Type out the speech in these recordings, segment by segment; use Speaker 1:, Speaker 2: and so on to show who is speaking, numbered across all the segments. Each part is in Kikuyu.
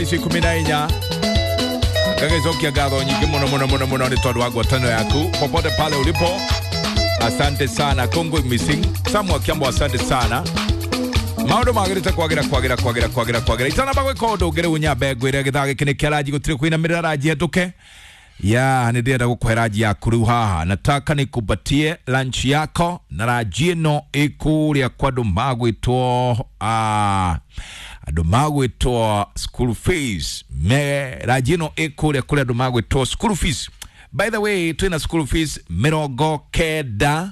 Speaker 1: ici 14 ngagĩcokia ngatho nyingĩ mũno mũno mũno mũno nĩ tondũ wa ngwatanĩro yaku popote pale ulipo. Asante sana Kongo Missing Samuel Kiambo, asante sana. Maũndũ magĩrĩte kwagĩra kwagĩra kwagĩra kwagĩra kwagĩra. Itanamba gwĩka ũndũ ũngĩ rĩu nyambe ngwĩre gĩthaa gĩkĩ nĩ kĩa ranji, gũtirĩ kũinamĩrĩra ranji hetũke ya nĩ ndĩrenda gũkũhe ranji yaku rĩu haha. Nataka nikupatie lunch yako na ranji ĩno ĩkũrĩa kwa andũ magwĩtwo andũ magwĩtwo school fees. Me ranji ĩno ĩkũrĩa kũrĩ andũ magwĩtwo school fees. By the way, twĩna school fees 90,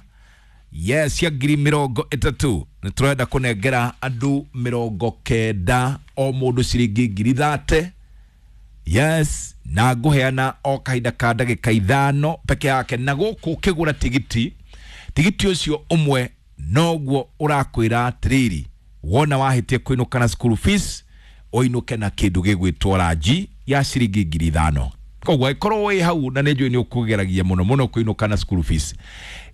Speaker 1: yes, ya 30,000. Nĩ tũrenda kũnengera andũ 90 o mũndũ ciringi 30,000. Yes, na ngũheana o kahinda ka ndagĩka 5 peke yake. Na gũkũ ũkĩgũra tigiti, tigiti ũcio ũmwe noguo ũrakwĩra atĩrĩrĩ, wona wahĩtia kũinũka na school fees ũinũke na kĩndũ gĩgwĩtwo ranji ya ciringi 5,000. Koguo ĩkorwo wĩ hau na nĩ njũĩ nĩ ũkũgeragia mũno mũno kũinũka na school fees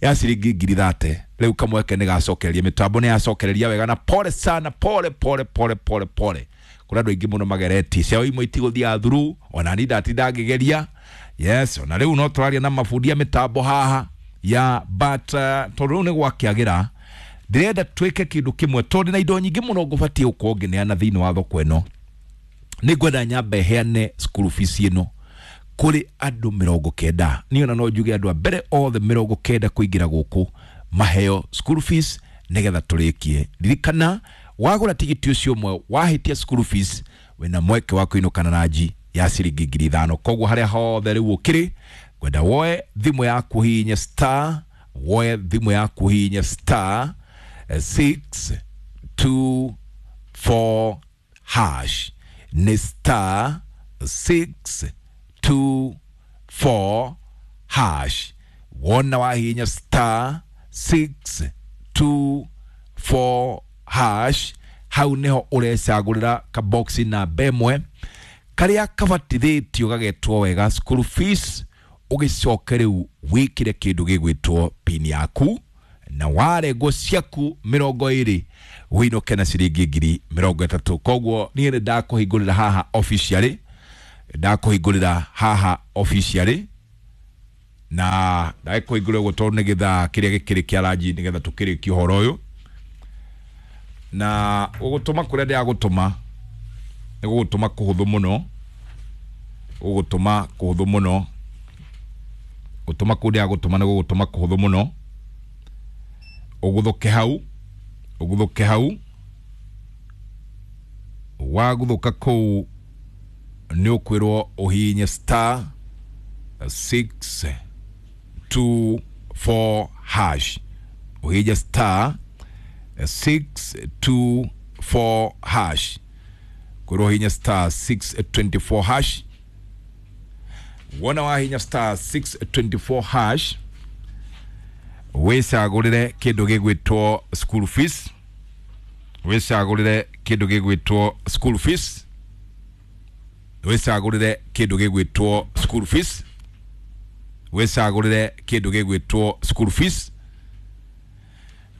Speaker 1: ya ciringi 30,000. Rĩu kamweke nĩ gacokereria, mĩtambo nĩ yacokereria wega na pole sana, pole pole pole pole pole. Kũrĩ andũ aingĩ mũno mageretie ciao imwe itigũthiaga through, ona ni ndatinda ngĩgeria. Yes, ona rĩu no tũraria na mabundi a mĩtambo haha ya but tondũ rĩu nĩ gwakĩagĩra, ndĩrenda twĩke kĩndũ kĩmwe tondũ na indo nyingĩ mũno ngũbatiĩ gũkorwo ngĩneana thĩinĩ wa thoko ĩno. Nĩ ngwenda nyambe heane school fees ĩno kũrĩ andũ 90. Niĩ ona no njuge andũ a mbere othe 90 kũingĩra gũkũ maheo school fees nĩgetha tũrĩkie. Ririkana wagũra tigiti ũcio ũmwe wahĩtia school fees wĩna mweke wa kũinũka na ranji ya ciringi 5,000. Koguo harĩa hothe rĩu ũkĩrĩ, ngwenda woe thimũ yaku hihinye star, woe thimũ yaku hihinye star 624 hash. Nĩ star 624 hash. Wona wahihinya star 624 hash, hau niho ũrecagũrĩra kaboxi namba ĩmwe karĩa kabatithĩtio gagetwo wega school fees, ũgĩcoke rĩu wĩkĩre kĩndũ gĩgwĩtwo pin yaku na warengwo ciaku 20 wĩinũke na ciringi 30,000. Koguo niĩ nĩ ndakũhingũrĩra haha officially, ndakũhingũrĩra haha officially na ndagĩkũhingũrĩra ũguo tondũ nĩ gĩthaa kĩrĩa gĩkĩrĩ kĩa ranji nĩgetha tũkĩrĩkie ũhoro ũyũ. Na gũgũtũma kũrĩa ndĩragũtũma nĩ gũgũtũma kũhũthũ mũno, gũgũtũma kũhũthũ mũno, gũtũma kũu ndĩragũtũma nĩ gũgũtũma kũhũthũ mũno. Ũgũthũke hau, ũgũthũke hau, wagũthũka kũu nĩ ũkwĩrwo ũhihinye star 624 hash, ũhihinye star 624 hash, kwĩrwo ũhihinye star 624 hash. Wona wahihinya star 624 hash wĩcagũrĩre kĩndũ gĩgwĩtwo school fees, wĩcagũrĩre kĩndũ gĩgwĩtwo school fees, wĩcagũrĩre kĩndũ gĩgwĩtwo school fees, wĩcagũrĩre kĩndũ gĩgwĩtwo school fees,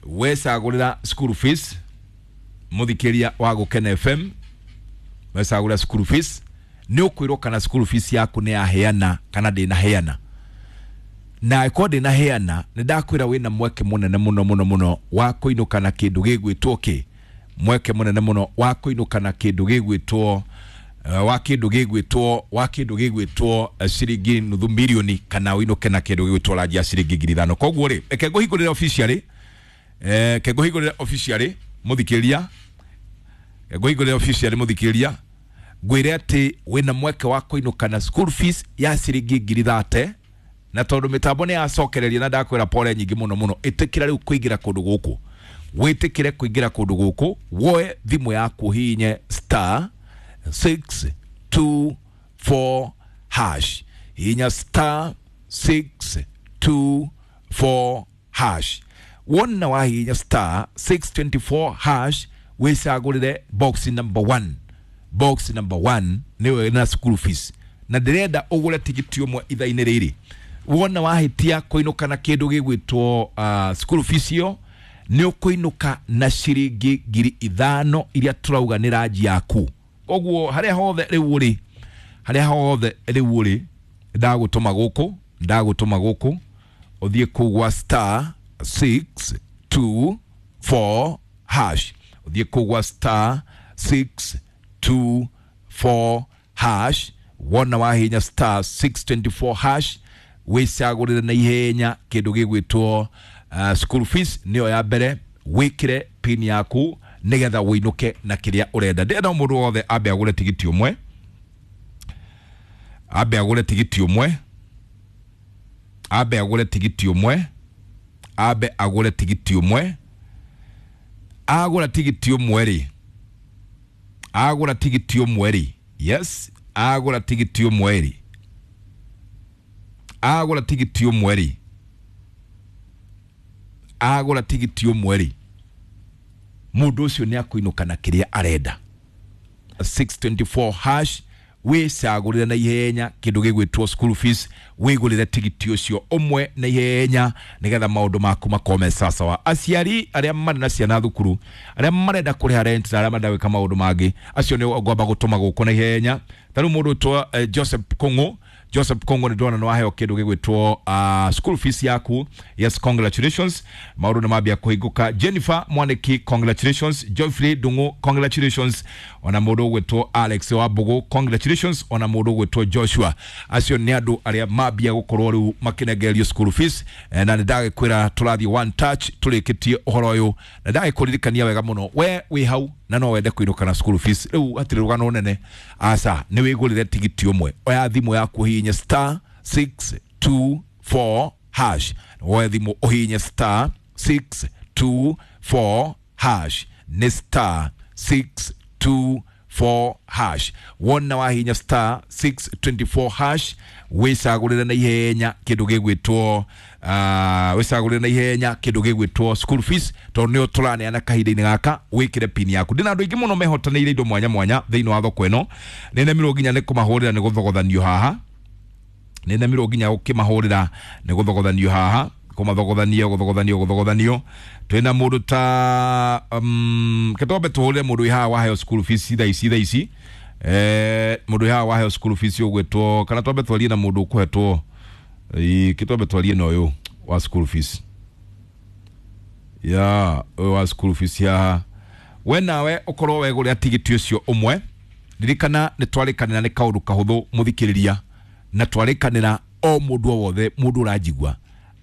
Speaker 1: wĩcagũrĩra school fees. Mũthikĩria wa Gũkena FM, wĩcagũrĩra school fees nĩ ũkwĩrwo kana school fees yaku nĩ yaheana kana ndĩnaheana. Na ĩkorwo ndĩnaheana, nĩ ndakwĩra wĩna mweke mũnene mũno mũno mũno wa kũinũka na kĩndũ gĩgwĩtwo kĩ, mweke mũnene mũno wa kũinũka na kĩndũ gĩgwĩtwo wa kĩndũ gĩgwĩtwo wa kĩndũ gĩgwĩtwo ciringi 500,000 kana ũinũke na kĩndũ gĩgwĩtwo ranji ya ciringi 5,000. Koguo rĩ, reke ngũhingũrĩre officially, reke ngũhingũrĩre officially mũthikĩria, ngũhingũrĩre officially mũthikĩria, ngwĩre atĩ wĩna mweke wa kũinũka na school fees ya ciringi 30,000. Na tondũ mĩtambo nĩ yacokereria na ndakwĩra pole nyingĩ mũno mũno, ĩtĩkĩra rĩu kũingĩra kũndũ gũkũ, wĩtĩkĩre kũingĩra kũndũ gũkũ, woe thimũ yaku ũhihinye star 624 hash, hihinya star 624 hash. Wona wahihinya star 624 hash wĩcagũrĩre box number 1, box number 1 nĩwe na school fees. Na ndĩrenda ũgũre tigiti ũmwe ithaa-inĩ rĩrĩ. Wona wahĩtia kũinũka na kĩndũ gĩgwĩtwo school fees ĩyo, nĩ ũkũinũka na ciringi 5,000 iria tũrauga nĩ ranji yaku. Koguo haria hothe riu uri, haria hothe riu uri, ndagutuma guku, ndagutuma guku uthie kuu gwa star 624 hash, uthie kuu gwa star 624 hash. Wona wahinya star 624 hash wicagurire na ihenya kindu gigwitwo school fees niyo ya mbere, wikire pin yaku nigetha winuke na kiria urenda. Ndĩrenda mũndũ wothe ambe agũre tigiti ũmwe, ambe agũre tigiti ũmwe, ambe agũre tigiti ũmwe, ambe agũre tigiti ũmwe. Agũra tigiti ũmwe rĩ, agũra tigiti ũmwe rĩ, yes, agũra tigiti ũmwe rĩ, agũra tigiti ũmwe rĩ, agũra tigiti ũmwe rĩ, mũndũ ũcio nĩ akũinũka na kĩrĩa arenda. 624 hash wicagũrĩre na ihenya kĩndũ gĩgwĩtwo school fees, wĩgũrĩre tigiti ũcio ũmwe na ihenya nĩgetha maũndũ maku makorwo me sawasawa. Aciari arĩa marĩ na ciana thukuru, arĩa marenda kũrĩha rent na arĩa marenda gwĩka maũndũ mangĩ, acio nĩ ngwamba gũtũma gũkũ na ihenya. Ta rĩu mũndũ ũtwa Joseph Kung'u, Joseph Kung'u nĩ ndona nĩ waheo kĩndũ gĩgwĩtwo school fees yaku. Yes, congratulations, maũndũ nĩ mambia kũhingũka. Jennifer Mwaniki, congratulations. Geoffrey Ndung'u, congratulations. Ona mũndũ ũgwĩtwo Alex Wambugu, congratulations. Ona mũndũ ũgwĩtwo Joshua. Acio nĩ andũ arĩa mambia gũkorwo rĩu makĩnengererio school fees. Na nĩ ndagĩkwĩra tũrathiĩ one touch tũrĩkĩtie ũhoro ũyũ, na ndagĩkũririkania wega mũno, we wĩ hau na no wende kũinũka na school fees rĩu hatirĩ rũgano nene, aca nĩ wĩgũrĩre tigiti ũmwe. Oya thimũ yaku ũhihinye star 624 hash, woe thimũ ũhihinye star 624 hash, nĩ star 624 hash. Wona wahinya star 624 hash wicagũrĩre na ihenya kĩndũ gĩgwĩtwo wicagũrĩre na ihenya kĩndũ gĩgwĩtwo school fees, tondũ nĩyo tũraneana kahinda-inĩ gaka. Wĩkĩre pin yaku. Ndĩna andũ aingĩ mũno mehotanĩire indo mwanya mwanya thĩinĩ wa thoko ĩno, nĩnemirwo nginya nĩ kũmahũrĩra nĩ gũthogothanio haha, nĩnemirwo nginya gũkĩmahũrĩra nĩ gũthogothanio haha, kũmathogothanio gũthogothanio gũthogothanio. Twĩna mũndũ ta kĩtombe tũhũrĩre mũndũ wĩ haha waheo school fees thaa ici, thaa ici mũndũ wĩ haha waheo school fees ũgwĩtwo, kana twambe twarie na mũndũ ũkũhetwo, kĩtwambe twarie na ũyũ wa school fees, ya ũyũ wa school fees haha. We nawe ũkorwo wegũrĩra tigiti ũcio ũmwe, ririkana nĩ twarĩkanĩra nĩ kaũndũ kahũthũ mũthikĩrĩria, na twarĩkanĩra o mũndũ o wothe mũndũ ũranjigua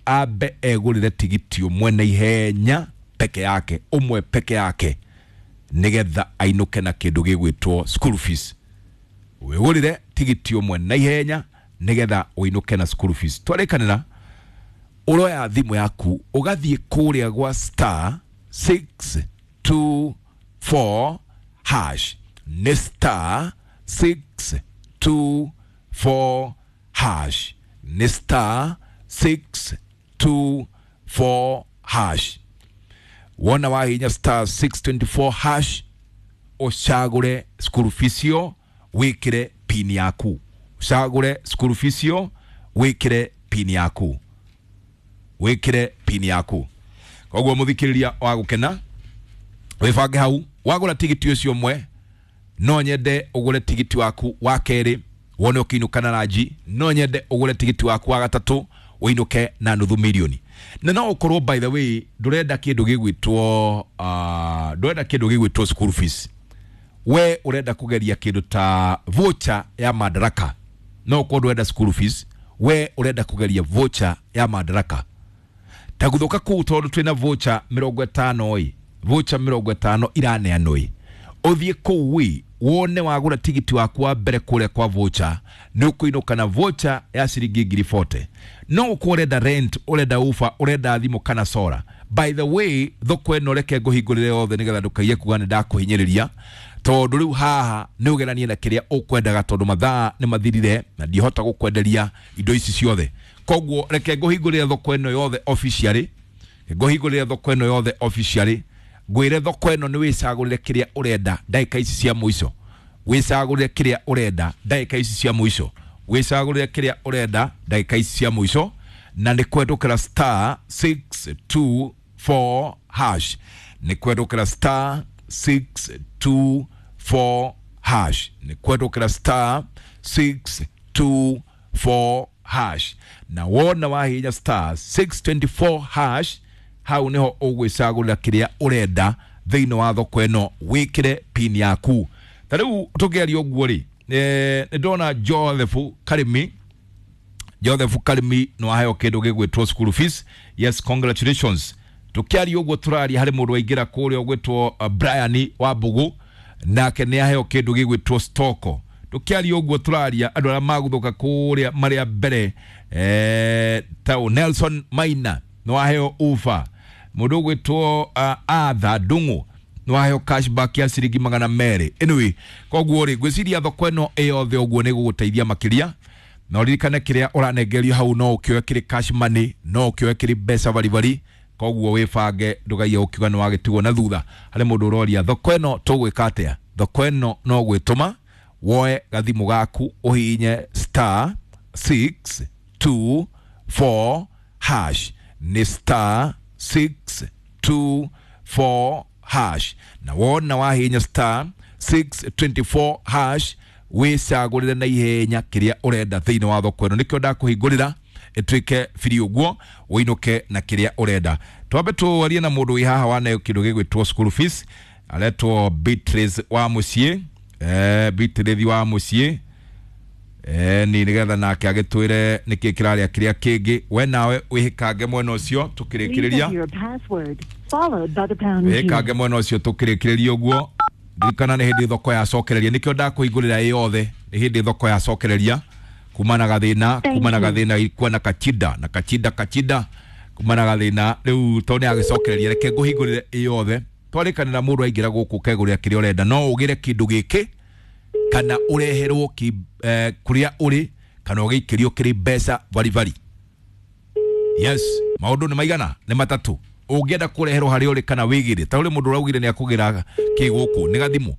Speaker 1: ambe egũrĩre tigiti ũmwe na ihenya peke yake, ũmwe peke yake, nĩgetha ainũke na kĩndũ gĩgwĩtwo school fees. Wĩgũrĩre tigiti ũmwe na ihenya nĩgetha ũinũke na school fees. Twarĩkanĩra ũroya thimũ yaku ũgathiĩ kũrĩa gwa star 624 hash, nĩ star 624 hash, nĩ star 624 hash. Wona wahinya star 624 hash ũcagũre school fees ĩyo, wĩkĩre pin yaku, ũcagũre school fees ĩyo, wĩkĩre pin yaku, wĩkĩre pin yaku. Koguo mũthikĩrĩria wa gũkena, wĩbange hau wagũra tigiti ũcio ũmwe, no nyende ũgũre tigiti waku wa kerĩ wone ũkĩinũka na ranji, no nyende ũgũre tigiti waku wa gatatũ ũinũke na nuthu milioni. Na no ũkorwo by the way ndũrenda kĩndũ gĩgwĩtwo ndũrenda kĩndũ gĩgwĩtwo school fees, we ũrenda kũgeria kĩndũ ta voucher ya Madaraka. No ũkorwo ndũrenda school fees, we ũrenda kũgeria voucher ya Madaraka. Ta gũthũka kũu tondũ twĩna voucher 50 ĩ, voucher 50 iraneanwo ĩ, ũthiĩ kũu ĩ wone wagũra tigiti waku wa mbere kũrĩa kwa voucher nĩ ũkũinũka na voucher ya ciringi ngiri 40. No ũkorwo ũrenda rent, ũrenda ufa, ũrenda thimũ kana sora. By the way, thoko ĩno reke ngũhingũrĩre yothe nĩgetha ndũkaiye kuga nĩ ndakũhinyĩrĩria, tondũ rĩu haha nĩ ũgeranie na kĩrĩa ũkwendaga, tondũ mathaa nĩ mathirire na ndihota gũkwenderia indo ici ciothe. Koguo reke ngũhingũrĩre thoko ĩno yothe officially, ngũhingũrĩre thoko ĩno yothe officially, ngwĩre thoko ĩno nĩ wĩcagũrĩre kĩrĩa ũrenda ndagĩka ici cia mũico, wĩcagũrĩre kĩrĩa ũrenda ndagĩka ici cia mũico, wĩcagũrĩre kĩrĩa ũrenda ndagĩka ici cia mũico, na nĩ kwendũkĩra star 624 hash, nĩ kwendũkĩra star 624 hash. Nĩ kwendũkĩra star 624 hash, na wona wahihinya star 624 hash, hau niho ũgwĩcagũrĩra kĩrĩa ũrenda thĩinĩ wa thoko ĩno, wĩkĩre pin yaku. Ta rĩu tũkĩaria ũguo rĩ, nĩ ndona Joseph Karimi. Joseph Karimi nĩ waheo kĩndũ gĩgwĩtwo school fees. Yes, congratulations. Tũkĩaria ũguo tũraria, harĩ mũndũ waingĩra kũrĩa ũgwĩtwo Brian wa Mbugu, nake nĩ aheo kĩndũ gĩgwĩtwo stoko. Tũkĩaria ũguo tũraria, andũ arĩa maguthũka kũrĩa marĩa mbere, ta Nelson Maina nĩ waheo ufa. Mũndũ ũgwĩtwo Arthur Ndung'u nĩ waheo cashback ya ciringi 200. Anyway, koguo rĩ, ngwĩciria thoko ĩno ĩyothe ũguo nĩ gũgũteithia makĩria, na ũririkane kĩrĩa ũranengerio hau no ũkĩoe kĩrĩ cash money, no ũkĩoe kĩrĩ mbeca baribari. Koguo wĩbange, ndũgaiye ũkiuga nĩ wagĩtigwo na thutha. Harĩ mũndũ ũroria thoko ĩno tũgwĩka atĩa. Thoko ĩno no gwĩtũma woe gathimũ gaku, ũhihinye star 624 hash. Nĩ star 624 hash, na wona wahihinya star 624 hash, wĩcagũrĩre na ihenya kĩrĩa ũrenda thĩinĩ wa thoko ĩno. Nĩkĩo ndakũhingũrĩra ĩtuĩke biri ũguo, ũinũke na kĩrĩa ũrenda. Twambe tũarie na mũndũ wĩ haha waneo kĩndũ gĩgwĩtwo school fees, aretwo Beatrice wa mũciĩ. Beatrice wa mũciĩ, ni nigetha nake agĩtwĩre nĩkĩ kĩrarĩa kĩrĩa kĩngĩ. We nawe wĩhĩkange mwena ũcio tũkĩrĩkĩrĩria. Wĩhĩkange mwena ũcio tũkĩrĩkĩrĩria ũguo. Ririkana nĩ hĩndĩ thoko yacokereria, nĩkĩo ndakũhingũrĩra ĩ yothe. Nĩ hĩndĩ thoko yacokereria kuma na gathĩna, kuma na gathĩna, ilikuwa na kachida na kachida kachida, kuma na gathĩna. Rĩu tondũ nĩ agĩcokereria, reke ngũhingũrĩre ĩ yothe. Twarĩkanĩra mũndũ aingĩra gũkũ ũkegũrĩra kĩrĩa ũrenda. No ũgĩre kĩndũ gĩkĩ kana ũreherwo kũrĩa ũrĩ, kana ũgĩikĩrio kĩrĩ mbeca baribari. Yes, maũndũ nĩ maigana? Nĩ matatũ. Ũngĩenda kũreherwo harĩa ũrĩ kana wĩgĩre, ta ũrĩ mũndũ ũraugire nĩ akũgĩra kĩ gũkũ nĩ gathimũ.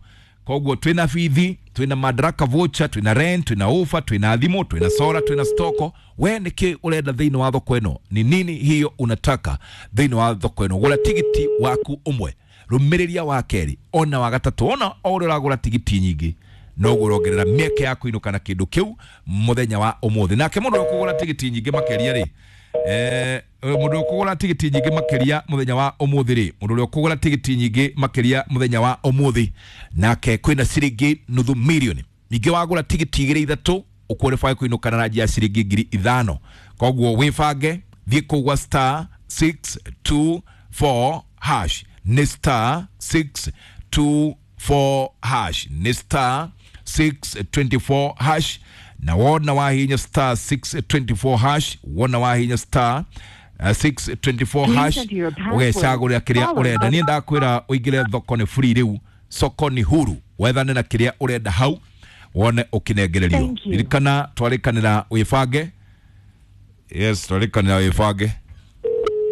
Speaker 1: Koguo twĩna bithi, twĩna Madaraka voucher, twĩna rent, twĩna ofa, twĩna thimũ, twĩna sora, twĩna stoko. We nĩkĩ ũrenda thĩinĩ wa thoko ĩno? Ni nini hiyo unataka thĩinĩ wa thoko ĩno? Gũra tigiti waku ũmwe, rũmĩrĩria wa kerĩ, ona wa gatatũ. Ona o ũrĩa ũragũra tigiti nyingĩ, noguo ũrongerera mĩeke ya kũinũka na kĩndũ kĩu mũthenya wa ũmũthĩ. Nake mũndũ ũkũgũra tigiti nyingĩ makĩria rĩ, mũndũ ũkũgũra tigiti nyingĩ makĩria mũthenya wa ũmũthĩ rĩ, mũndũ ũrĩa ũkũgũra tigiti nyingĩ makĩria mũthenya wa ũmũthĩ, nake kwĩna ciringi nuthu milioni. Ningĩ wagũra tigiti igĩrĩ ithatũ, ũqualify kũinũka na ranji ya ciringi 5,000. Koguo wĩbange, thiĩ kũu gwa star 624 hash. Nĩ star 624 hash, nĩ star 624 hash. Na wona wahinya star 624 hash, wona wahinya star 624 hash, ũgecagũrĩra kĩrĩa ũrenda. Niĩ ndakwĩra ũingĩre thoko nĩ free rĩu, soko ni huru, wethane na kĩrĩa ũrenda hau wone ũkĩnengererio. Ririkana twarĩkanĩra wĩbange. Yes, twarĩkanĩra wĩbange.